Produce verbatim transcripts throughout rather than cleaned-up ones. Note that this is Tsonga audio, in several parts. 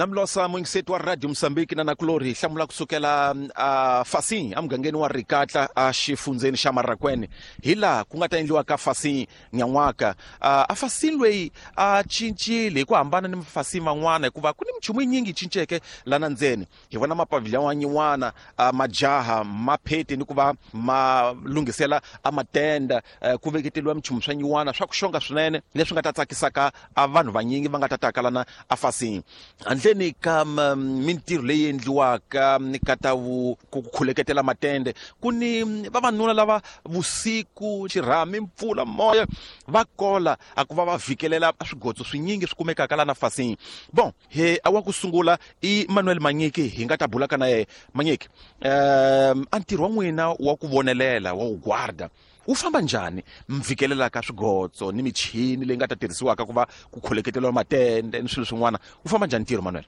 Namlosa muyingiseti wa Radio Mozambique na nakulori hi hlamula kusukela uh, Fasin emugangeni wa Rikatla a xifundzeni xa Marracuene hi laha ku nga ta endliwa ka Fasin nyan'waka. uh, a Fasin loyi a cincile hi ku hambana ni Fasin van'wana hikuva ku ni minchumu yinyingi yi cinceke lana ndzeni. Hi vona mapavilion yin'wana uh, majaha mapheti ni ku va ma lunghisela a matenda, uh, ku veketeliwa minchumu swa nyin'wana swa ku xonga swinene leswi nga ta tsakisaka a vanhu vanyingi va nga ta taka lana a Fasin. Handleni ka mintirho leyi endliwaka ni ka ta ku khuleketela matende, ku ni vavanuna lava vusiku xirhami mpfula moya va kola a ku va va vhikelela swigotso swinyingi swi kumekaka lana Fasin. Bon, he a wa ku sungula i Manuel Manyiki hi nga ta bulaka na yena. Manyiki, um a ntirho wa n'wina wa ku vonelela wa ku guarda wu famba njhani mvikelela ka swigotso ni michini leyi nga ta tirhisiwaka ku va ku kholeketeriwa matende ni swilo swin'wana, wu famba njhani ntirho Manuel?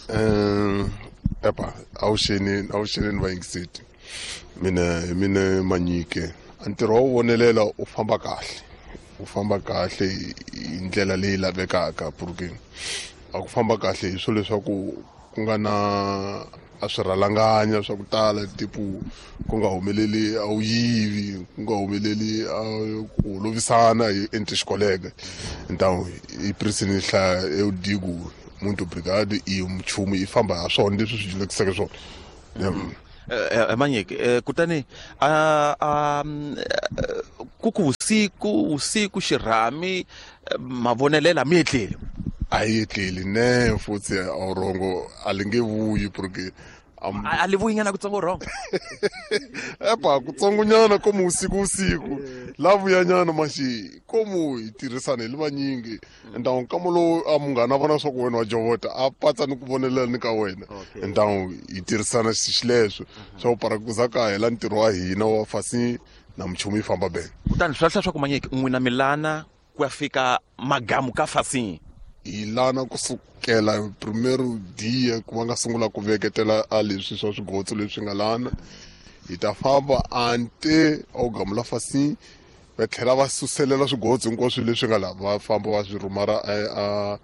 Um epa awuxeni awuxeni ni vayingiseti mina hi mina Manyike. Ntirho wa vonelela u famba kahle, u famba kahle hi ndlela leyi lavekaka porque a ku famba kahle hi swilo leswaku ku nga na a swirhalanganya swa ku tala tipo ku nga humeleli a wu yivi, ku nga humeleli a ku lovisana hi entre xikoleka. Então i prisini hlaya eu digo muito obrigado e nchumu yi famba ha swona leswi swi dyondzekiseke swona. Manyiki, kutani a a ku ku vusiku vusiku xirhami mavonelela mi etleli? A yi etleli ne futhi a rongo a li nge vuyi porque a li vuyi nyana kutsongo rongo epa kutsongonyana komu usiku usiku la vuyanyana maxi komu hi tirhisana hi li vanyingi. Então nkama lowu a munghana vona swa ku wena wa jovota a patsa ni ku vonelela ni ka wena. Então hi tirhisana xileswo swa ku para ku za ka hela ntirho wa hina wa Fasin na minchumu yi famba bene. Kutani swi lahla swa ku Manyiki n'wina milana ku ya fika magamu ka Fasin? Hi lana kusukela primero dia ku va nga sungula ku veketela a leswi swa swigotso leswi nga lana, hi ta famba ante a wu gamula Fasin va tlhela va suselela swigotso hinkwaswo leswi nga laha va famba va swi rhumara a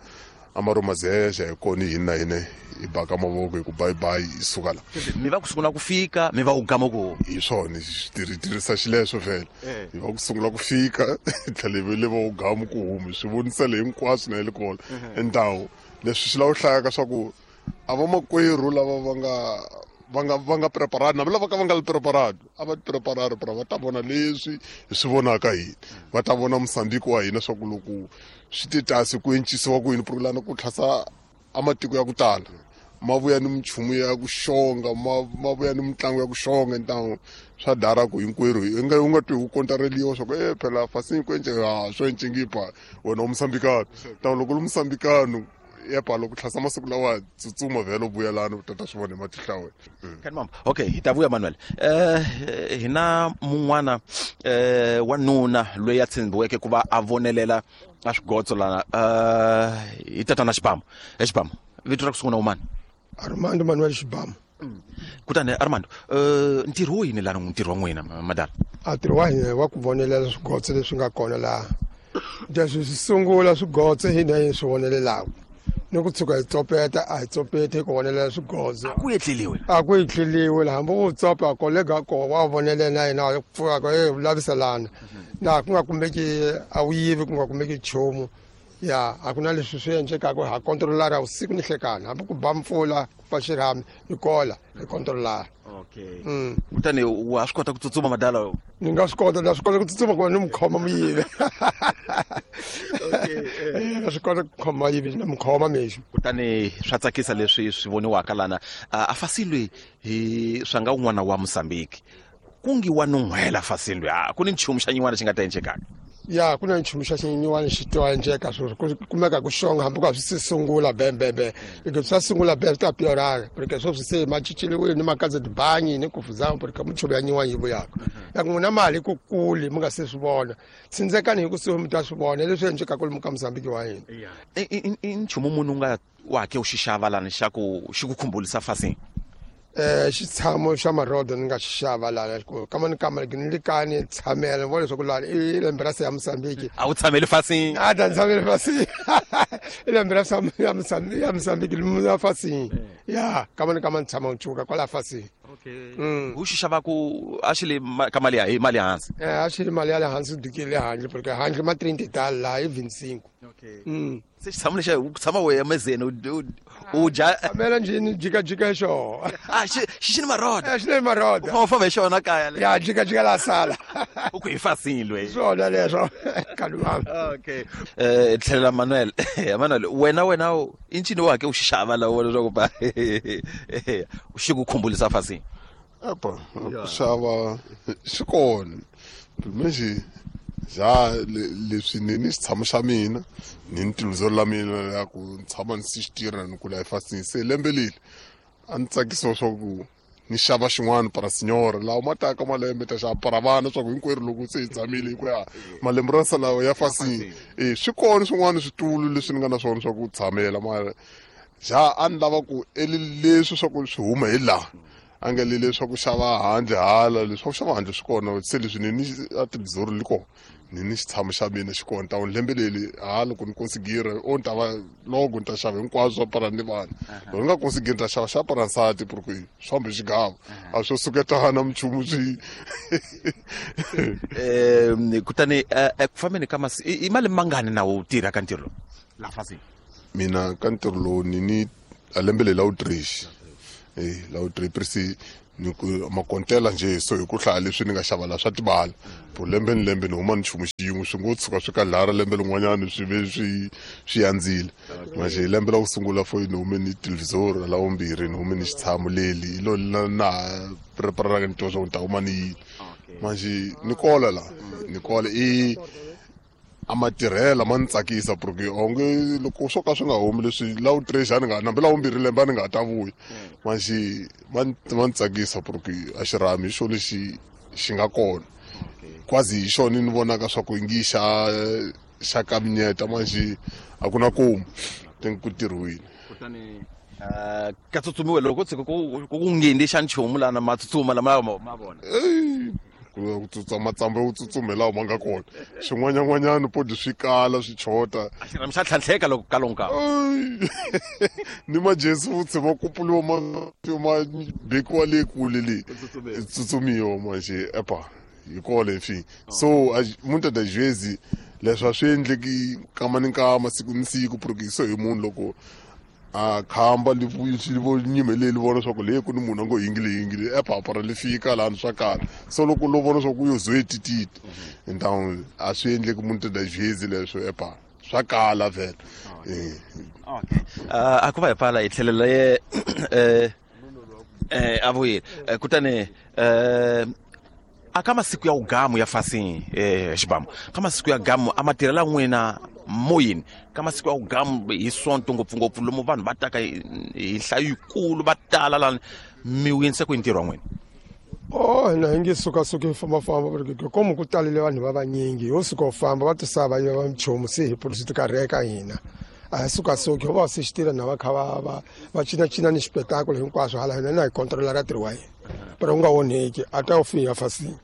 a marumazeja hi kona hina na hina hi baka mavoko hi ku bye bye hi suka la. Mi va ku sungula ku fika mi va ku gama ku hi swona hi tirhisa xileswo vhele hi va ku sungula ku fika tlhela hi le va ku gama ku humi swi vonisele hinkwaswo na le kona. Endhawu leswi swi lava ku hlayaka swa ku a vamakwerhu lava va nga va nga va nga preparado na lava ka va nga li preparado a va preparado para va ta vona leswi hi swi vonaka hina, va ta vona Mozambique wa hina swa ku loko swi te tasi ku encisiwa ku yini porque lana ku tlhasa a matiko ya ku tala ma vuya ni minchumu ya ku xonga ma ma vuya ni mitlangu ya ku xonga. Então swa dara ku hinkwerhu i nga u nga twi ku kontareliwa swa ku e phela Fasin ku ence ha swo encengipa wena wa Mozambikano. Então loko lu Mozambikano epa loko tlhasa masiku lawa tsutsuma vhele u vuyelana u tata swi vona hi matihlo ya wena. Kani mama, okay hi ta vuya Manuel. Eh hina mun'wana eh wanuna loyi a tshembiweke ku va a vonelela a swigotso lana, eh hi tatana Xibamu. E Xibamu, vito ra ku sungula umani? Armando Manuel Xibamu. Kutani Armando, eh ntirho wo yini lana ntirho wa n'wina madala? A ntirho wa hina wa ku vonelela swigotso leswi nga kona laha. Leswi swi sungula swigotso hina hi swi vonelelaka ni ku tshuka hi tsopeta a hi tsopeti hi ku vonelela swigotso. A ku etleliwe? A ku etleliwe hambi u tsopa kolega ko wa vonelela na yena a pfuka ko e laviselana na ku nga kumeki a wu yivi ku nga kumeki nchumu. Ya a ku na leswi swi endlekaka ha kontrolara vusiku ni nhlekani hambi ku ba mpfula ku pfa xirhami hi kola hi kontrolara. Okay. Kutani wa swi kota ku tsutsuma madala? Ni nga swi kota, na swi kota ku tsutsuma ku va ni mu khoma muyivi. Okay. Na swi kota ku khoma yivi na mu khoma mexo. Kutani swa tsakisa leswi swi voniwaka lana a Fasin loyi hi swa nga un'wana wa Mozambique ku ngi wa nun'hwela Fasin loyi a ku ni nchumu xa nyin'wana xi nga ta endlekaka? Ya ku na nchumu xa xinyiwani xi to endleka swo ku kumeka ku xonga hambi ku swi sungula bembembe loko swa sungula be swi ta piorara porque swo swi se ma cinceliwile ni makaza tibangi ni kufuzama porque minchumu ya nyiwani yi vuyaka ya ku n'wina mali ku kuli mi nga se swi vona tsindzekani hi kusuhi mi ta swi vona leswi endlekaka lomu ka Mozambique wa hina. I nchumu munhu u nga wa ke u xi xava lani xa ku xi ku khumbulisa Fasin? Eh xitshamo xa marodo ni nga xi xava lana kama ni kama ni li kani tshamela ni vona leswaku lani i lembe ra se ya Mozambique a wu tshameli fasini a ta tshameli fasini i lembe ra ya Mozambique ya Mozambique ya fasini ya kama ni kama ni tshama nchuka kwala fasini. Okay. U xi xava ku a xi le ka mali ya hi mali hansi eh a xi le mali ya le hansi dukile handle porque handle ma trinta tal la i vinte e cinco. Okay. Mm. Se xitshamo lexa u tshama wehe mezeni u dya tshamela njhini jikajika xo a xi xi ni maroda eh xi ni maroda u famba famba hi xona kaya le ya jikajika la sala u ku hi fasini loyi swona leswo kalumama. Okay. Eh tlhela Manuel Manuel wena wena i ncini wa ke u xi xava la wona leswaku ba xi ku khumbulisa fasini? Epa ku xava xi kona manje ja leswi ni ni xitshamo xa mina ni ni tiluzelo la mina ya ku ni tshama ni si xi tirha ni kula efasini se lembe leri a ni tsakisiwa swa ku ni xava xin'wana para sinyora lawa ma taka malembe ta xava para vana swa ku hinkwerhu loko se hi tshamile hi ku ya malembe ra salawa ya fasini e swi kona swin'wana switulu leswi ni nga na swona swa ku tshamela mara ja a ni lava ku eli leswi swa ku swi huma hi laha a nga le leswaku xava handle hala leswaku xava handle swi kona se leswi ni ni a tilizori li kona ni ni xitshamo xa mina xi kona ta lembe leri ha loko ni konsigira o ni ta va loko ni ta xava hinkwaswo swa para ni vana loko ni nga konsigiri ni ta xava xa para nsati porque swi fambe xigava a swo suketana minchumu swi um kutani eku fambeni ka masi i mali mangani na wu tirha ka ntirho lowu la fasini? Mina ka ntirho lowu ni ni a lembe leri la wu trexi eh la wu three presi ni ku makontela nje so hi ku hlaya leswi ni nga xava la swa tibala po lembe ni lembe ni huma ni nchumu xin'we swi ngo tshuka swi ka lara lembe lin'wanyana swi ve swi swi andzile manje hi lembe la ku sungula fo ni hume ni televhizori la vumbirhi ni hume ni xitshamo leli hi lo na na preparaka ni twa swa ku ni ta huma ni yini manje ni kola la ni kola i a matirhela ma ni tsakisa porque onge loko swo ka swi nga humi leswi la wu three a ni nga nambi la vumbirhi lembe a ni nga ta vuya manjhe ma ma ni tsakisa porque a xirhami hi xo lexi xi nga kona kwazi hi xona ni vonaka swa ku ngi xa xa kaminyeta manjhe a ku na komu think ku tirhiwile. Kutani uh, ka tsutsumiwe loko tshuka ku ku ngheni xa nchumu lana ma tsutsuma lama ma vona ku tsutsa matsamba yo tsutsuma hi lawa ma nga kona xin'wanyan'wanyana podi swi kala swi chota a xirhami xa tlhantlheka loko ka lonka ni majesi futsi ma kupuliwa ma ma bekiwa le kule le tsutsumiwa manje epa hi kona enfin so muitas das vezes leswi a swi endleki nkama ni nkama siku ni siku porque so hi munhu loko a khamba li vo nyimeleli vona swa ku le ku ni munhu a ngo yingile yingile epapa ra li fika lani swa kala so loko lo vona swa ku yo zo tititi então a swi endleki muitas das vezes leswo epa swa kala vhele. Okay. A ku va hi pfala hi tlhelela ye eh eh a vuyile kutani eh a ka masiku ya ugamu ya fasini eh xibamu ka masiku ya gamu a matirhela n'wina moyeni ka masiku ya ugamu hi sonto ngopfungopfu lomu vanhu va taka hi nhlayo yikulu va tala lani mi wu ku hi ntirho wa n'wina? Oh hina hi nge sukasuki hi fambafamba porque komu ku talele vanhu va vanyingi ho suka u famba va tisa va yiva minchumu se hi polisi ti karheka hina a hi sukasuki ho va se xi tirha na va kha va va va cinacina ni xipetakulu hinkwaswo hala hina na hi controla ra ntirho wa hina pero u nga onheki a ta u fiya fasini.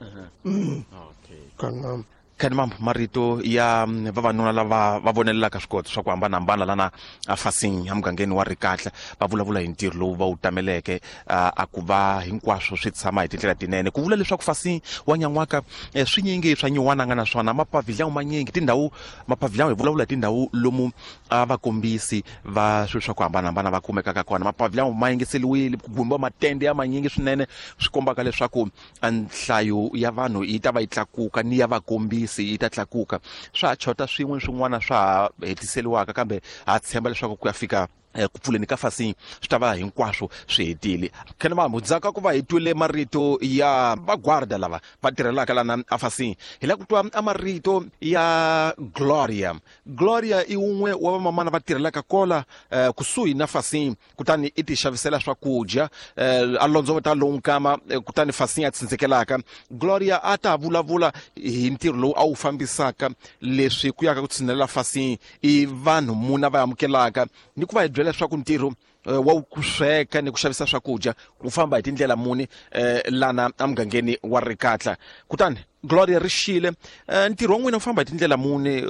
Okay. Khani mambo marito ya vavanuna lava va vonelelaka swikoti swa ku hambanahambana lana a fasini emugangeni wa Rikatla va vulavula hi ntirho lowu va wu tameleke a ku va hinkwaswo swi tshama hi tindlela tinene ku vula leswaku fasini wa nyan'waka swinyingi swa nyiwana nga na swona mapavhilyawu manyingi tindhawu mapavhilyawu hi vulavula hi tindhawu lomu a vakombisi va swilo swa ku hambanahambana va kumekaka kona mapavhilyawu ma yingiseliwile ku gumbiwa matende ya manyingi swinene swi kombaka leswaku nhlayo ya vanhu yi ta va yi tlakuka ni ya vakombisi yi ta tlakuka swa ha chota swin'we swin'wana swa ha hetiseliwaka kambe ha tshemba leswaku ku ya fika ku pfuleni ka fasini swi ta va hinkwaswo swi hetile. Khene mambo ndzhaku ka ku va hi twile marito ya vagwarda lava va tirhelaka lana a fasini hi lava ku twa a marito ya Gloria. Gloria i wun'we wa vamamana va tirhelaka kola eh, kusuhi na fasini kutani i ti xavisela swakudya eh, a londzovota lowu nkama eh, kutani fasini a tsindzekelaka. Gloria a ta vulavula hi ntirho lowu a wu fambisaka leswi ku yaka ku tshinelela fasini i vanhu muna va amukelaka ni ku va hi byela byela leswaku ntirho wa ku sweka ni ku xavisa swakudya ku famba hi tindlela muni lana emugangeni wa Rikatla. Kutani Gloria Rixile, ntirho wa n'wina wu famba hi tindlela muni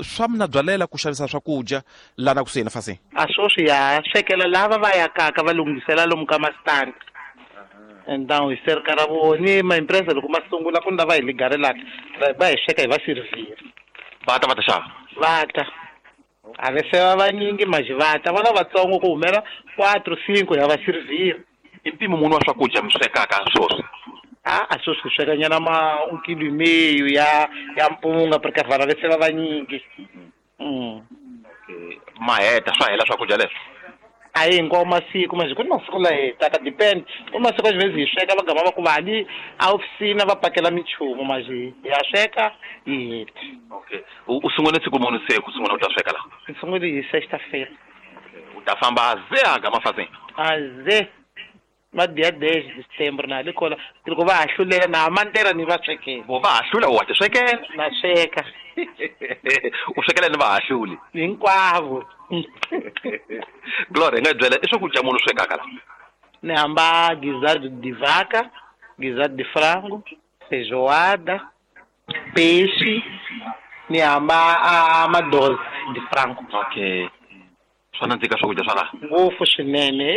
swa mina byalela ku xavisa swakudya lana kusuhi na Fasini? A sweswi ya swekela lava va yakaka va lunghisela lomu ka mastandi. Então hi serka ra voni ma-empresa loko ma sungula ku ni lava hi ligarelaka va hi sweka hi va sirivhira. Va ta va ta xava? Va ta. A ve se va vanyingi maji va ta vona vatsongo ku humela quatro cinco ya va sirivhira. I mpimo muni wa swakudya mi swekaka sweswi? A a sweswi hi sweka nyana ma un kilo e meio ya ya mpunga porque vana ve se va vanyingi. Mm. Okay. Ma heta swa hela swakudya leswi? A hi hinkwawo masiku manje ku ni masiku la hetaka depend ku masiku a hi sweka va gama va ku vali a ofisina va pakela minchumu manje ya sweka hi heta. Okay. U sungule siku muni se ku sungula u ta sweka la? Ni sungule hi sexta-feira. U ta famba ze a gama Fasini? A ze ma dia dez de setembro na likola loko va ha hlulela na mantera ni va swekela. Vo va ha hlula wa ti swekela? Na sweka. U swekela ni va ha hluli? Hinkwavo. Gloria, nga byela i swakudya muni u swekaka la? Ni hamba guisado de vaca, guisado de frango, feijoada, peixe, ni hamba a madose de frango. Okay. Swa nandzika swakudya swa laha? Ngopfu swinene.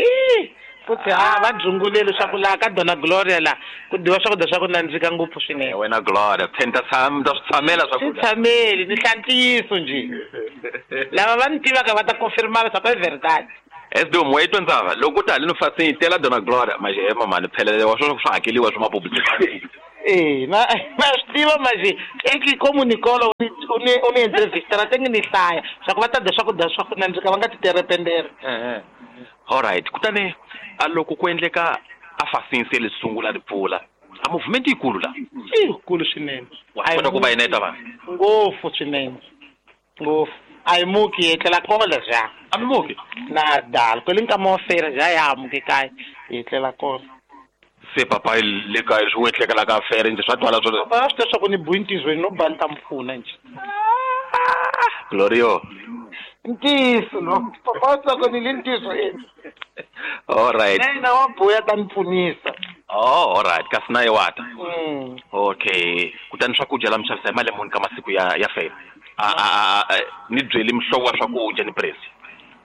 Futhi a va dzunguleli swa ku laha ka Dona Gloria la ku dyiwa swakudya swa ku nandzika ngopfu swinene. Wena Gloria, phela ta tshama ta swi tshamela swakudya. Swi tshameli ni hla ntiyiso njhe. Lava va ni tivaka va ta confirma leswaku i verdade. Esdom wa itwa ndzava loko u ta haleni Fasini tela Dona Gloria manje he mamani phela wa swo swa hakeliwa swa mapublicity. Eh, na na swi tiva manje eki como Nicola u ni u ni entrevista ra tengi ni hlaya swa ku va ta dya swakudya swa ku nandzika va nga ti terependere. Eh. All right, kutani a loko ku endleka a Fasini se li sungula ri pfula a movement yikulu la? Yikulu swinene. Wa kota ku va yineta vanhu? Ngopfu swinene. Ngopfu. A hi muki hi etlela kona ja. A mi muki? Na dala kwele nkama wa fera ja ya muki kaya hi etlela kona. Se papa le kaya swi etlekela ka fere njhe swa twala swo. Papa swi tiva swa ku ni buintizweni no ba ni ta mi pfuna njhe. Glorio. Ntiyiso no. Papa wa swa ku ni le ntiyisweni. All right. Na wa buya ta ni pfunisa. Oh, all right. Kasi na ye wa ta. Mm. Okay. Kutani swakudya la mi xavisa hi mali muni ka masiku ya ya fela? A a a ni byeli mihlovo wa swakudya ni presi.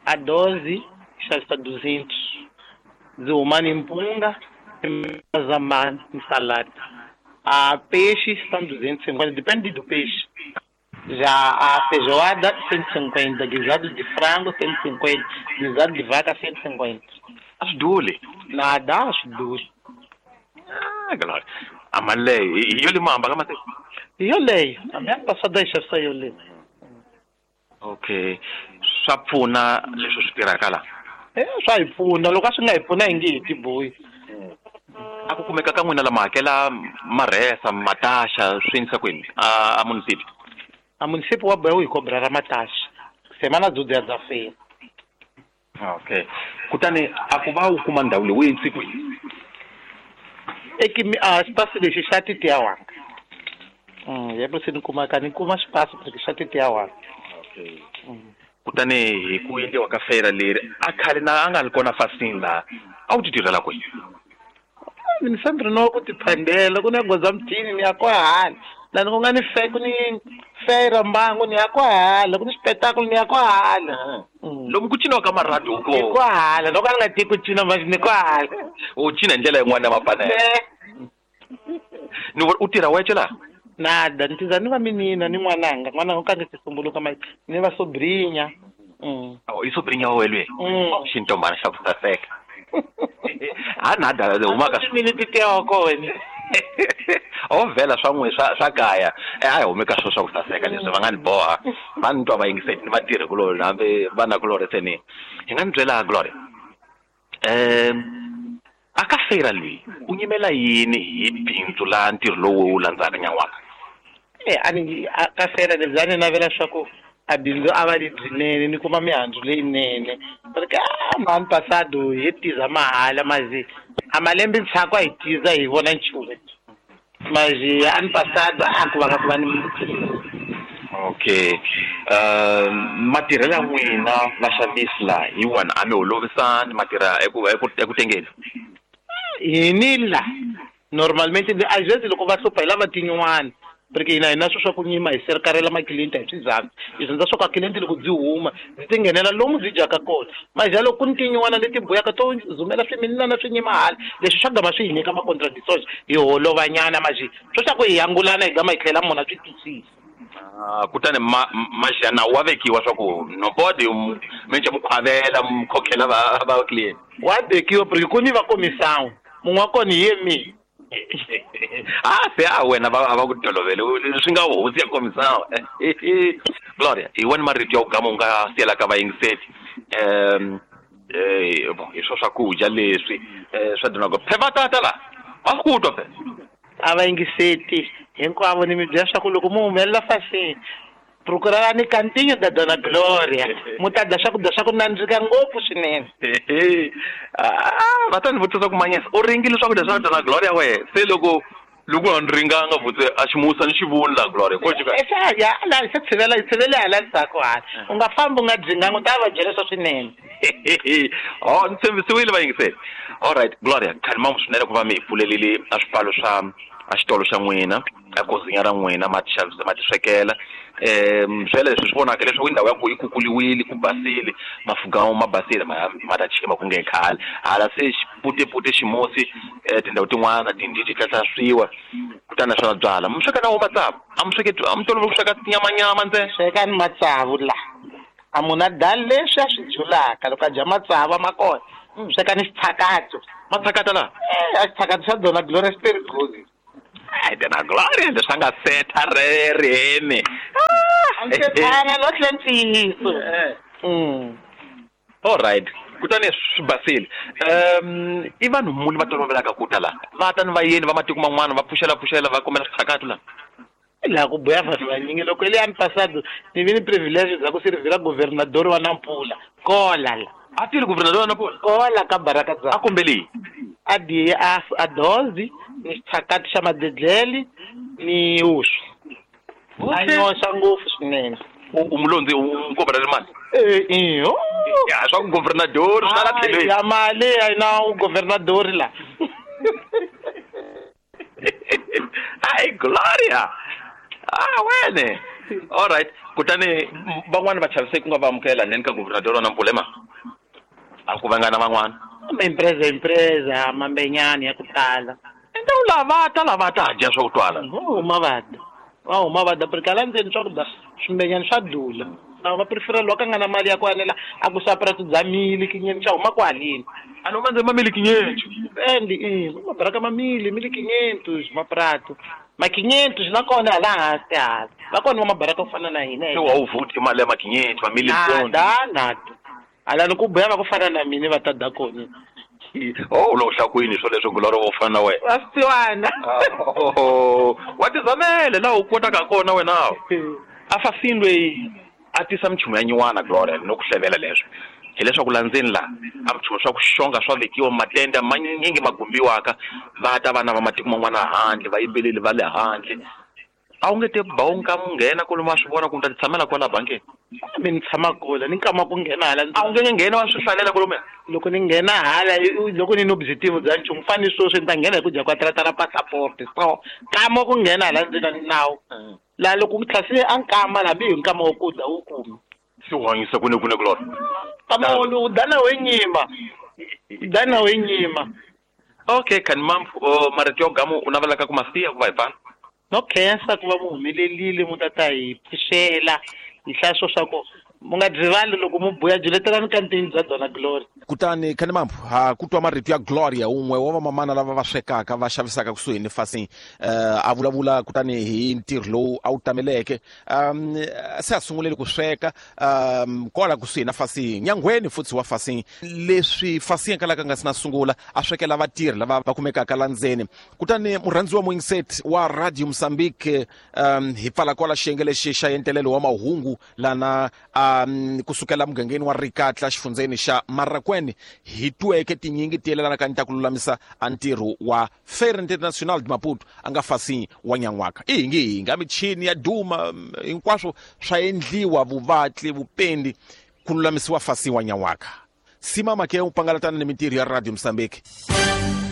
A doze xavisa duzentos. Ndzi huma ni mpunga, mazamani ni salada. A peixe são duzentos e cinquenta, depende do peixe. Já a feijoada cento e cinquenta, guisado de frango cento e cinquenta, guisado de vaca cento e cinquenta. Acho dule. Nada, acho dule. Ah, Glória. A mali leyi hi yo le mamba ka masiku? Hi yoleyo. Hambi a ni pasada yi xavisa yoleyo. Okay. Swa pfuna leswi swi tirhaka la? Eh, swa hi pfuna. Loko a swi nga hi pfuna hi nge hi tibohi. A ku kumeka ka n'wina lama hakela marhesa, mataxa, swi endlisa ku yini? A a munisipi? A munisipi wa boha wu hi cobra ra mataxa. Semana dzudzia dza fela. Okay. Kutani a ku va u kuma ndhawu leyi u endlise ku yini? Eki a xipasi lexi xa titiya wanga. Mm, yebo se ni kumaka ni kuma xipasi lexi xa titiya wanga. Okay. Kutani hi ku endliwa ka fera leri a khale na a nga ri kona Fasini laha a wu ti tirhela kwihi? Ni sempre no ku tiphandela ku ni goza mthini ni ya kwahala. Lani ku nga ni fe ku ni fera mbangu ni ya kwahala, ku ni xipetakulo ni ya kwahala. Lomu ku ciniwa ka marhadu ko. Ni kwahala, loko a ni nga tivi ku cina manje ni kwahala. U cina hi ndlela yin'wana ya mapanelo. Ni u tirha wexe laha? Nada, ni tiza ni va minina ni n'wananga, n'wananga u kange sisumbuluka manje ni va sobrinya. Mm. Oh, i sobrinya wa wena? Mm. Xintombana xa ku saseka. A nada huma ka mina titiya wa kona. O vhela swa n'we swa swa kaya. A hi humi ka swo swa ku saseka leswi va nga ni boha. Va ni twa va yingiseli ni vatirhi kulorhi hambi vana kulorhi se ni. Hi nga ni byela Gloria. Um a ka fera loyi u nyimela yini hi bindzu la ntirho lowu wu landzaka nyan'waka? Eh, a ni ka fera lebyi a ni navela swa ku a bindzu a va lebyinene ni kuma mihandzu leyinene. Porque a mani pasado hi tiza mahala mazi a malembe ndzhaku a hi tiza hi vona nchumu. Mas ano passado a ku va ka ku va ni Okay. Uh matirhelo ya n'wina vaxavisi la hi wona a mi holovisani matirha eku eku eku tengeni. Hini la normalmente às vezes loko va hlupha hi lava tin'wana porque hina hi na swo swa ku nyima hi serkarela maklienti hi swizathu hi dyondza swa ku a client loko byi huma byi ti nghenela lomu byi dyaka kona maja loko ku ni tin'wana leti buyaka to zumela swiminana swi nyima hala leswi swa gama swi hi nyika ma-contradictions hi holovanyana maji swo swa ku hi angulana hi gama hi tlhela munhu a swi twisisa. Ah, kutani ma majana wa vekiwa swa ku nobody menje mukhwavela mukhokhela va va client wa vekiwa porque ku ni va komisawu munhu wa kona hi ye mina. Ah se a wena va va ku tolovele swi nga hosi ya komisawu. Gloria hi wena marito ya ku gama u nga siyela ka vayingiseli um eh bon hi swo swakudya leswi swa dinako phe va tata la va ku twa phe a va yingiseti hinkwavo ni mi byela swa ku loko mu humelela fasini procurarani cantinho da Dona Gloria mu ta dya swakudya swa ku nandzika ngopfu swinene. Ah va ta ni vutisa ku manyesa u ringile swakudya swa Dona Gloria wehe se loko loko a ni ringanga vutse a ximusa ni xivoni la Gloria ko jika ya la se tshivela tshivele hala ndzhaku hala u nga fambi u nga dyinganga u ta va byela swa swinene. Oh ni tshembisiwile vayingiseli. All right Gloria khalima swinene ku va mi hi pfulelile a swipfalo swa a xitolo xa n'wina a kozinya ra n'wina ma ti xavisa ma ti swekela um swele leswi swi vonaka leswaku indhawu ya ku yi kukuliwile ku basile mafugamu ma basile ma ma ta chima ku nge khale hala se xiputepute ximusi tindhawu tin'wana tindhi ti tlatlaswiwa kutani naswona byala mi sweka na wo matsavu a mi sweke a mi tolovele ku sweka tinyamanyama ntsena swekani matsavu la a munhu a dali leswi a swi dyulaka loko a dya matsavu ma kona swekani xitshakato matshakata la eh a xitshakato xa Dona Gloria xi very good. Ai Dona Gloria leswi a nga setha rereni a ndzi tshana lo tlhe ntiyiso. All right kutani swi basile um i vanhu muni va tolovelaka ku ta la va ta ni vayeni va matiko man'wana va pfuxela pfuxela va kombela switshakato la laha ku buya vanhu vanyingi loko ile ani pasado ni vi ni privilege bya ku sirivhela governador wa Nampula kola la a tile governador wa Nampula kola ka baraka dza a kombeli a diye a a dozi ni xitshakati xa madedleli ni uswa a nyoxa ngopfu swinene. U mulondzi u kombela mali eh iyo ya swa ku governador swi la tlhelweni ya mali a na u governador la. Ai Gloria ah wene all right kutani van'wana va chavise ku nga va amukela ndzeni ka governador wa Nampula ma a ku vangana van'wana ma empresa empresa mambenyani ya ku tala enta u lava ta lava ta dya swa ku twala huma va dya va huma va dya porque la ndzeni swakudya swimbenyani swa dula na va prefera loko a nga na mali ya ku anela a ku xava prato bya miliki nyeni xa huma kwaleni a no mandze ma miliki nyencho endi i mabaraka ma mili miliki quinhentos maprato ma quinhentos na kona hala hansi hala va kona va mabaraka ku fana na hina se wa wu vuti mali ya ma quinhentos ma mili nada nada hala ni ku buya va ku fana na mina va ta da kona. Oh lo hlakwini swo leswo Gloria wo fana na wena wa swiwana wa tizamele laha u kotaka kona wena a fasini loyi a tisa minchumu ya nyuwana Gloria no ku hlevela leswo hileswaku la ndzeni la a minchumu swa ku xonga swa vekiwa matende manyingi ma gumbiwaka va ta vana va matiko man'wana handle va yimbeleli va le handle a wu nge te ba wu nga mu nghena kwalomu wa swi vona ku mi ta ti tshamela kwala bankeni mi ni tshama kula ni nkama ku nghena hala a wu nge nghena wa swi hlalela kwalomuya loko ni nghena hala loko ni ni objective bya nchumu fani sweswi ni ta nghena hi ku dya kwa ra passport so nkama ku nghena hala ndzeni ni nawu laha loko ku tlhasile a nkama hambi hi nkama wo ku dya wu kumi se u hanyisa kune kune Gloria nkama wolowu dana we nyima dana we nyima. Okay khanimam marito ya gamu u navelaka ku masiya ku va hi pfala no khensa ku va mu humelelile mu ta ta hi pfuxela hi hlaya swo swa ku mu nga rivali loko mu buya byiletelani kantini bya Dona Gloria. Kutani Khanimambu ha ku twa marito ya Gloria un'we wa vamamana lava va swekaka va xavisaka kusuhi ni fasini uh, a vulavula kutani hi ntirho lowu a wu tameleke um se a sungulele ku sweka um kwala kusuhi na fasini nyangweni futhi wa fasini leswi fasini kalaka nga si na sungula a swekela vatirhi lava va kumekaka la ndzeni. Kutani murhandzi wa muyingiseti wa Radio Mozambique um hi pfala kwala xiyenge lexi xa entelelo wa mahungu lana a um kusukela mugangeni wa Rikatla xifundzeni xa Marracuene hi tweke tinyingi ti yelanaka ni ta ku lulamisa a ntirho wa Feira Internacional de Maputo a nga Fasin wa nyan'waka. I hingi hinga michini ya duma hinkwaswo swa endliwa vuvatli vupendi ku lulamisiwa Fasin wa nyan'waka. Sima make u pangalatana ni mintirho ya Radio Mozambique.